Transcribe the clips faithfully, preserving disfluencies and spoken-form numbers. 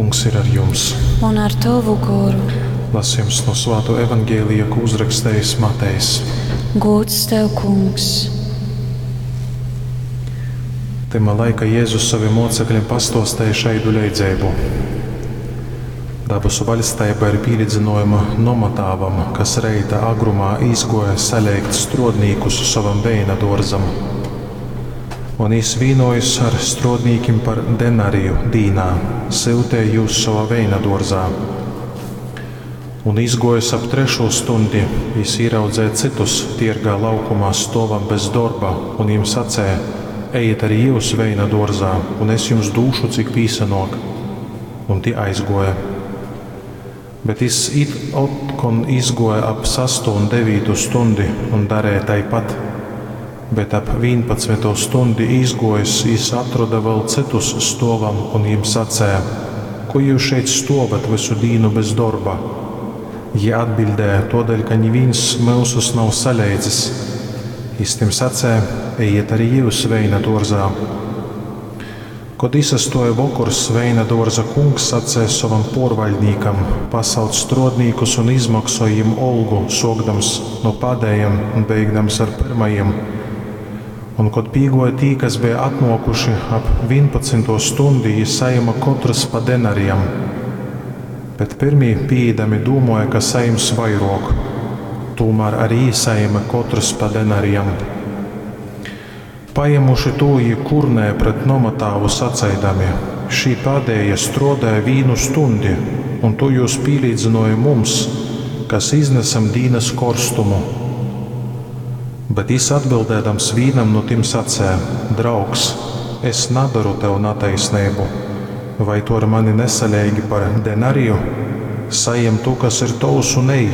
Kungs ir ar jums. Un ar tovu goru. Lasījums no Svāto evaņģēlija, ko uzrakstījis Matejs. Gods tev, Kungs! Tymā laika Jēzus saviem mocekļiem pastostēja šaidu leidzeibu. Dabasu vaļsteiba ir pīlīdzynojama nomatāvam, kas reita agrumā izgoja saleigt strodnīkus sovam veina dōrzam. Un jis vīnojis ar strodnīkim par denariju dīnā, syutēja jūs sovā veina dōrzā. Un izgojis ap trešū stundi, jis īraudzēja cytus tiergā laukumā stovam bez dorba, un jim sacēja: Ejiet arī jūs veina dōrzā, un es jums dūšu, cik pīsanōk. Un tie aizgoja. Bet jis it otkon izgoja ap sastu un devītu stundi un darēja taipat. Bet ap vīnpadsmito stundi izgojis, jis atroda vēl cytus stovam un jim sacēja: Ko jūs šeit stovat visu dīnu bez dorba? Jī atbildēja: Todēļ, ka nivīns myusus nav saleidzis. Jis tim sacēja: Ejiet arī jūs veina dōrzā. Kod isastoja vokors, veina dōrza kungs sacēja sovam porvaļdnīkam: Pasauc strodnīkus un izmaksoj jim olgu, sokdams no pādējiem un beigdams ar pirmajiem. Un kod pīgoja tī, kas bija atnokuši ap vīnpadsmito stundi, jī sajima kotrs pa denarijam. Bet pirmī pīeidami dūmoja, ka sajims vairok. Tūmēr arī jī sajima kotrs pa denarijam. Pajemuši tū, jī kurnēja pret nomatāvu saceidami: Šī pādējie strodēja vīnu stundi, un tu jūs pīlīdzinoji mums, kas iznesam dīnas korstumu. Bet jis atbildēdams vīnam no tim sacēja: Draugs, es nadaru tev nataisnību. Vai tu ar mani nesaleigi par denariju? Sajem tu, kas ir tovs, un ej.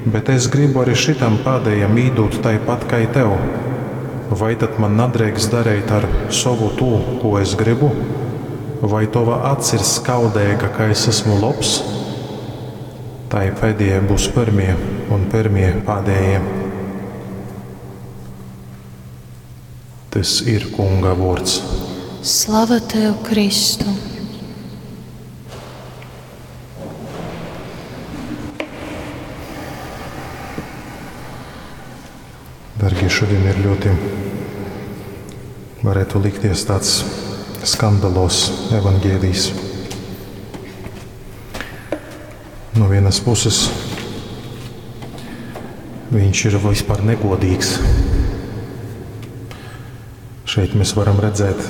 Bet es gribu arī šitam pādējam īdūt taipat kā tev. Vai tad man nadrīkst darīt ar savu tū, ko es gribu? Vai tova acs ir skaudīga, ka es esmu labs? Tai pēdējie būs pirmie, un pirmie pādējie. Tas ir Kunga vārds. Slava tev, Kristu! Dargie, šodien ir ļoti, varētu likties, tāds skandalos evaņģēlijs. No vienas puses, viņš ir vispār negodīgs. Šeit mēs varam redzēt,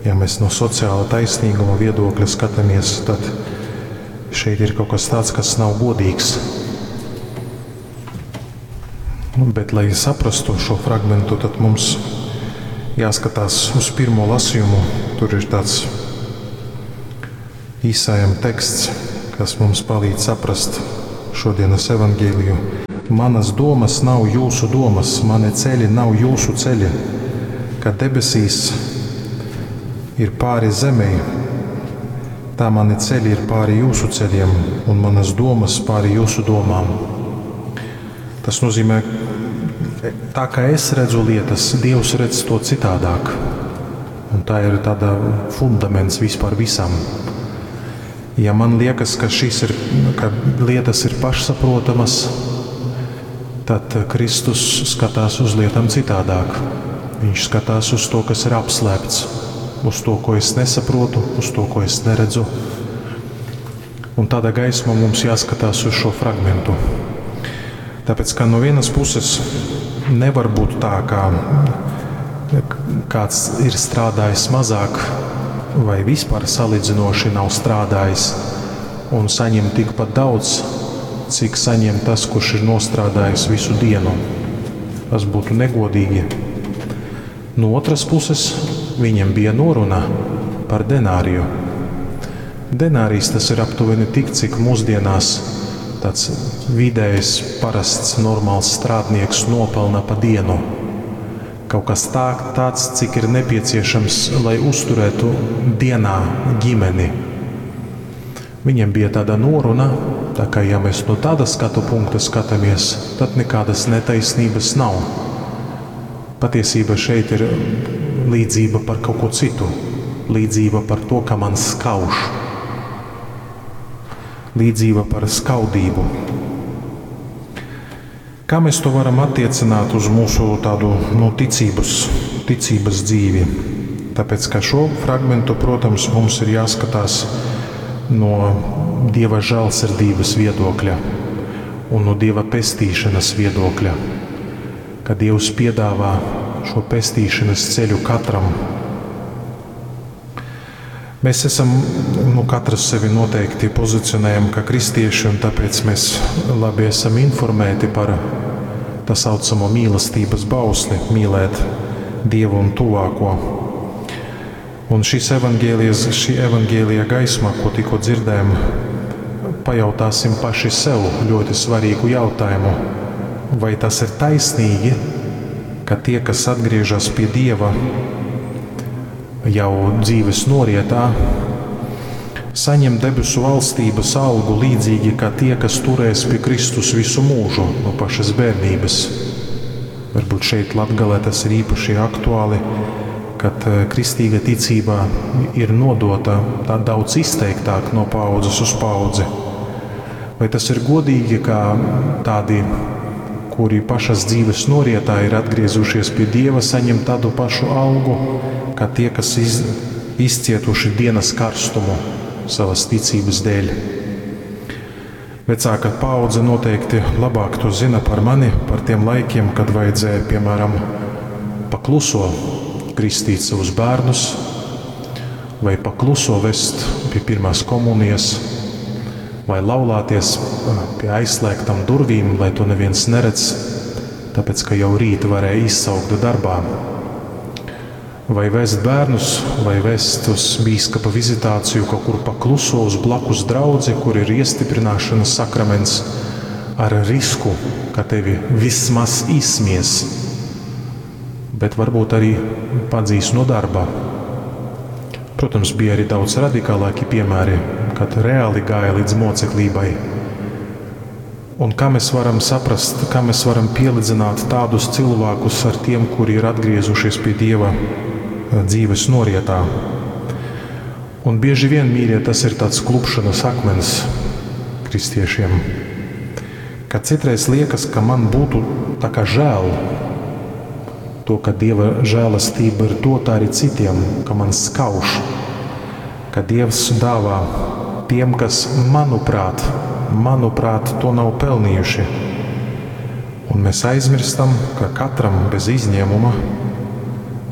ja mēs no sociāla taisnīguma viedokļa skatāmies, tad šeit ir kaut kas tāds, kas nav godīgs. Bet, lai saprastu šo fragmentu, tad mums jāskatās uz pirmo lasījumu. Tur ir tāds īsājam teksts, kas mums palīdz saprast šodienas evaņģēliju. Manas domas nav jūsu domas, mani ceļi nav jūsu ceļi. Kad debesīs ir pāri zemei, tā mani ceļi ir pāri jūsu ceļiem un manas domas pāri jūsu domām. Tas nozīmē, tā kā es redzu lietas, Dievs redz to citādāk. Un tā ir tāda fundaments vispār visam. Ja man liekas, ka šīs ir, ka lietas ir pašsaprotamas, tad Kristus skatās uz lietām citādāk. Viņš skatās uz to, kas ir apslēpts, uz to, ko es nesaprotu, uz to, ko es neredzu. Un tādā gaismā mums jāskatās uz šo fragmentu. Tāpēc, ka no vienas puses nevar būt tā, ka kāds ir strādājis mazāk vai vispār salīdzinoši nav strādājis un saņem tikpat daudz, cik saņem tas, kurš ir nostrādājis visu dienu. Tas būtu negodīgi. No otras puses, viņam bija noruna par denāriju. Denārijs tas ir aptuveni tik, cik mūsdienās tāds vidējs, parasts, normāls strādnieks nopelna pa dienu. Kaut kas tā, tāds, cik ir nepieciešams, lai uzturētu dienā ģimeni. Viņam bija tāda noruna, tā kā ja mēs no tāda skatu punkta skatāmies, tad nekādas netaisnības nav. Patiesība šeit ir līdzība par kaut ko citu. Līdzība par to, ka man skauž. Līdzība par skaudību. Kā mēs to varam attiecināt uz mūsu tādu, nu, ticības, ticības dzīvi? Tāpēc, ka šo fragmentu, protams, mums ir jāskatās no Dieva žēlsirdības viedokļa un no Dieva pestīšanas viedokļa, ka Dievs piedāvā šo pestīšanas ceļu katram. Mēs esam, nu, katrs sevi noteikti pozicionējam kā kristieši, un tāpēc mēs labi esam informēti par tā saucamo mīlestības bausli, mīlēt Dievu un tuvāko. Un šīs evangēlijas, šī evangēlija gaismā, ko tikko dzirdējam, pajautāsim paši sev ļoti svarīgu jautājumu. Vai tas ir taisnīgi, ka tie, kas atgriežas pie Dieva jau dzīves norietā, saņem debesu valstības algu līdzīgi kā tie, kas turēs pie Kristus visu mūžu no pašas bērnības? Varbūt šeit Latgalē tas ir īpaši aktuāli, kad, eh, kristīga ticība ir nodota tā daudz izteiktāk no paaudzes uz paaudzi. Vai tas ir godīgi, ka tādi, kuri pašas dzīves norietā ir atgriezušies pie Dieva, saņem tādu pašu algu, kā tie, kas iz-, izcietuši dienas karstumu savas ticības dēļ? Vecāka paudze noteikti labāk to zina par mani, par tiem laikiem, kad vajadzēja, piemēram, pakluso kristīt savus bērnus vai pakluso vest pie pirmās komunijas, vai laulāties pie aizslēgtām durvīm, lai to neviens neredz, tāpēc, ka jau rīt varēja izsaukt darbā. Vai vest bērnus, vai vest uz bīskapa vizitāciju kaut kur pakluso uz blakus draudzi, kur ir iestiprināšanas sakraments, ar risku, ka tevi vismaz izsmies, bet varbūt arī padzīs no darba. Protams, bija arī daudz radikālāki piemēri, kad reāli gāja līdz moceklībai. Un kā mēs varam saprast, kā mēs varam pielīdzināt tādus cilvēkus ar tiem, kuri ir atgriezušies pie Dieva, eh, dzīves norietā? Un bieži vien, mīļie, tas ir tāds klupšanas akmens kristiešiem, ka citreiz liekas, ka man būtu tā kā žēl to, ka Dieva žēlastība ir dota arī citiem, ka man skauž, ka Dievs dāvā tiem, kas, manuprāt, manuprāt, to nav pelnījuši. Un mēs aizmirstam, ka katram bez izņēmuma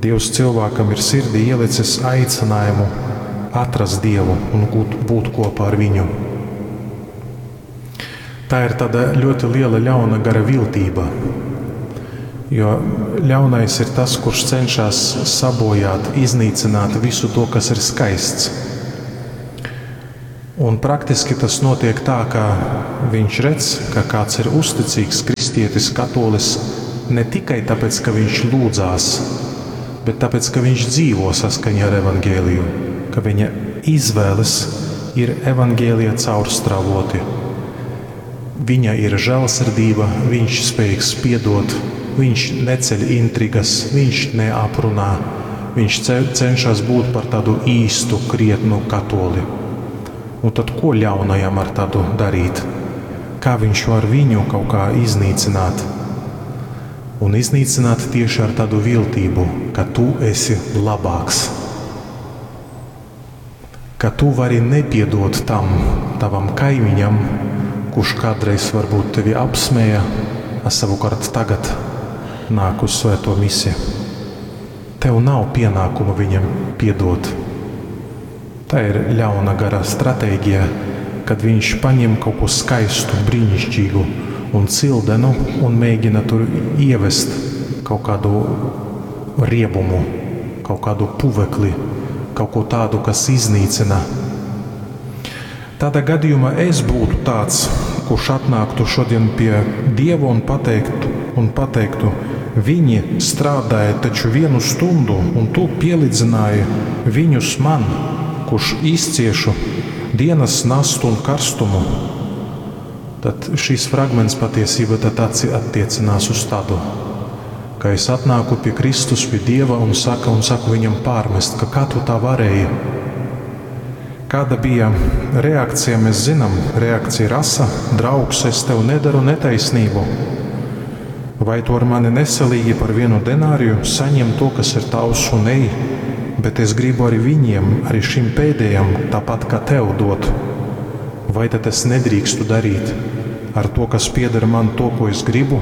Dievs cilvēkam ir sirdī ielicis aicinājumu atrast Dievu un būt, būt kopā ar viņu. Tā ir tāda ļoti liela ļauna gara viltība, jo ļaunais ir tas, kurš cenšas sabojāt, iznīcināt visu to, kas ir skaists. Un praktiski tas notiek tā, ka viņš redz, ka kāds ir uzticīgs kristietis, katolis, ne tikai tāpēc, ka viņš lūdzās, bet tāpēc, ka viņš dzīvo saskaņā ar evangēliju, ka viņa izvēles ir evangēlija caurstrāvoti. Viņa ir žēlsirdība, viņš spējīgs piedot, viņš neceļ intrigas, viņš neaprunā, viņš ce-, cenšas būt par tādu īstu, krietnu katoli. Un tad ko ļaunajam ar tādu darīt? Kā viņš var viņu kaut kā iznīcināt? Un iznīcināt tieši ar tādu viltību, ka tu esi labāks. Ka tu vari nepiedot tam tavam kaimiņam, kurš kādreiz varbūt tevi apsmēja, a savukārt tagad nāk uz svēto misi. Tev nav pienākuma viņam piedot. Tā ir ļauna gara stratēģija, kad viņš paņem kaut ko skaistu, brīnišķīgu un cildenu un mēģina tur ievest kaut kādu riebumu, kaut kādu puvekli, kaut ko tādu, kas iznīcina. Tādā gadījumā es būtu tāds, kurš atnāktu šodien pie Dieva un pateiktu, un pateiktu, viņi strādāja taču vienu stundu, un tu pielīdzināji viņus man, kurš izciešu dienas nastu un karstumu. Tad šis fragments patiesībā tad atci-, attiecinās uz tādu, Ka es atnāku pie Kristus, pie Dieva un, saka, un saku viņam pārmest, ka kā tu tā varēji? Kāda bija reakcija, mēs zinām. Reakcija ir asa, draugs, es tev nedaru netaisnību. Vai tu ar mani nesalīgi par vienu denāriju saņem to, kas ir tavs un ej, bet es gribu arī viņiem, arī šim pēdējam, tāpat kā tev dot. Vai tad es nedrīkstu darīt ar to, kas pieder man, to, ko es gribu?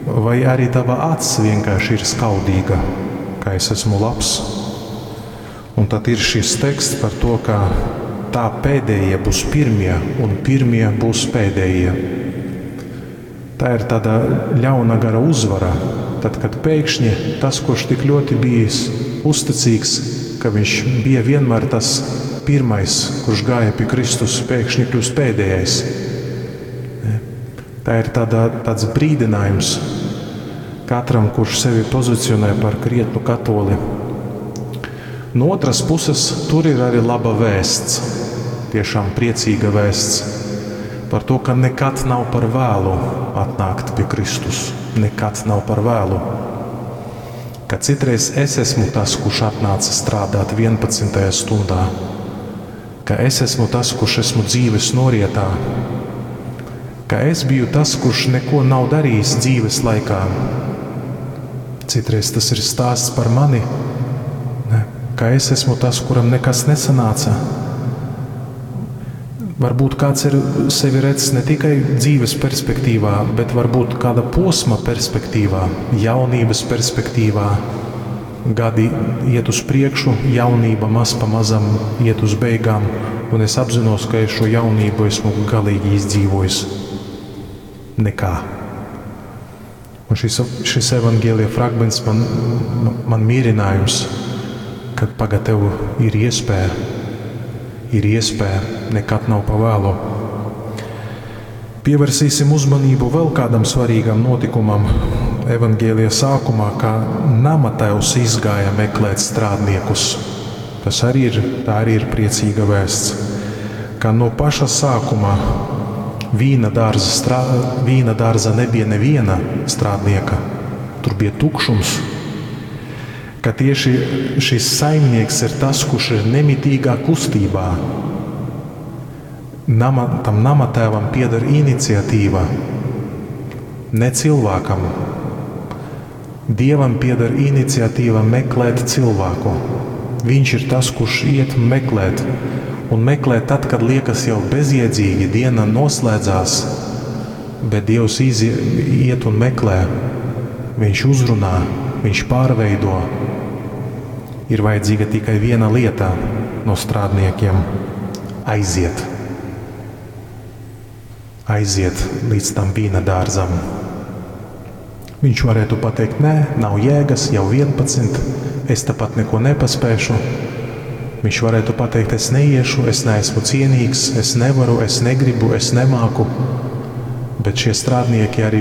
Vai arī tava acs vienkārši ir skaudīga, ka es esmu labs? Un tad ir šis teksts par to, ka tā pēdējie būs pirmie un pirmie būs pēdējie. Tā ir tāda ļauna gara uzvara, tad, kad pēkšņi tas, kurš tik ļoti bijis uzticīgs, ka viņš bija vienmēr tas pirmais, kurš gāja pie Kristus, pēkšņi kļūst pēdējais. Tā ir tāda, tāds brīdinājums katram, kurš sevi pozicionē par krietnu katoli. No otras puses, tur ir arī laba vēsts, tiešām priecīga vēsts par to, ka nekad nav par vēlu atnākt pie Kristus. Nekad nav par vēlu. Ka citreiz es esmu tas, kurš atnāca strādāt vienpadsmitajā stundā, ka es esmu tas, kurš esmu dzīves norietā, ka es biju tas, kurš neko nav darījis dzīves laikā. Citreiz tas ir stāsts par mani, ne? Ka es esmu tas, kuram nekas nesanāca. Varbūt kāds ir sevi redz ne tikai dzīves perspektīvā, bet varbūt kāda posma perspektīvā, jaunības perspektīvā. Gadi iet uz priekšu, jaunība maz pa mazam iet uz beigām, un es apzinos, ka es šo jaunību esmu galīgi izdzīvojis. Nekā. Un šis, šis evanģēlija fragments man, man mierinājums, kad pagad tev ir iespēja, ir iespēja, nekad nav pa vēlu. Pievērsīsim uzmanību vēl kādam svarīgam notikumam evanģēlija sākumā, kā nama tēvs izgāja meklēt strādniekus. Tas arī ir, tā arī ir priecīga vēsts, ka no paša sākuma vīna dārza, strā, vīna dārza nebija neviena strādnieka, tur bija tukšums. Ka tieši šis saimnieks ir tas, kurš ir nemitīgā kustībā. Nama, tam nama tēvam pieder iniciatīva, ne cilvēkam. Dievam pieder iniciatīva meklēt cilvēku. Viņš ir tas, kurš iet meklēt. Un meklē tad, kad liekas jau bezjēdzīgi, diena noslēdzās, bet Dievs izie, iet un meklē. Viņš uzrunā, viņš pārveido. Ir vajadzīga tikai viena lieta no strādniekiem – aiziet. Aiziet līdz tam vīna dārzam. Viņš varētu pateikt, nē, nav jēgas, jau vienpadsmit, es tāpat neko nepaspēšu. Viņš varētu pateikt, es neiešu, es neesmu cienīgs, es nevaru, es negribu, es nemāku. Bet šie strādnieki arī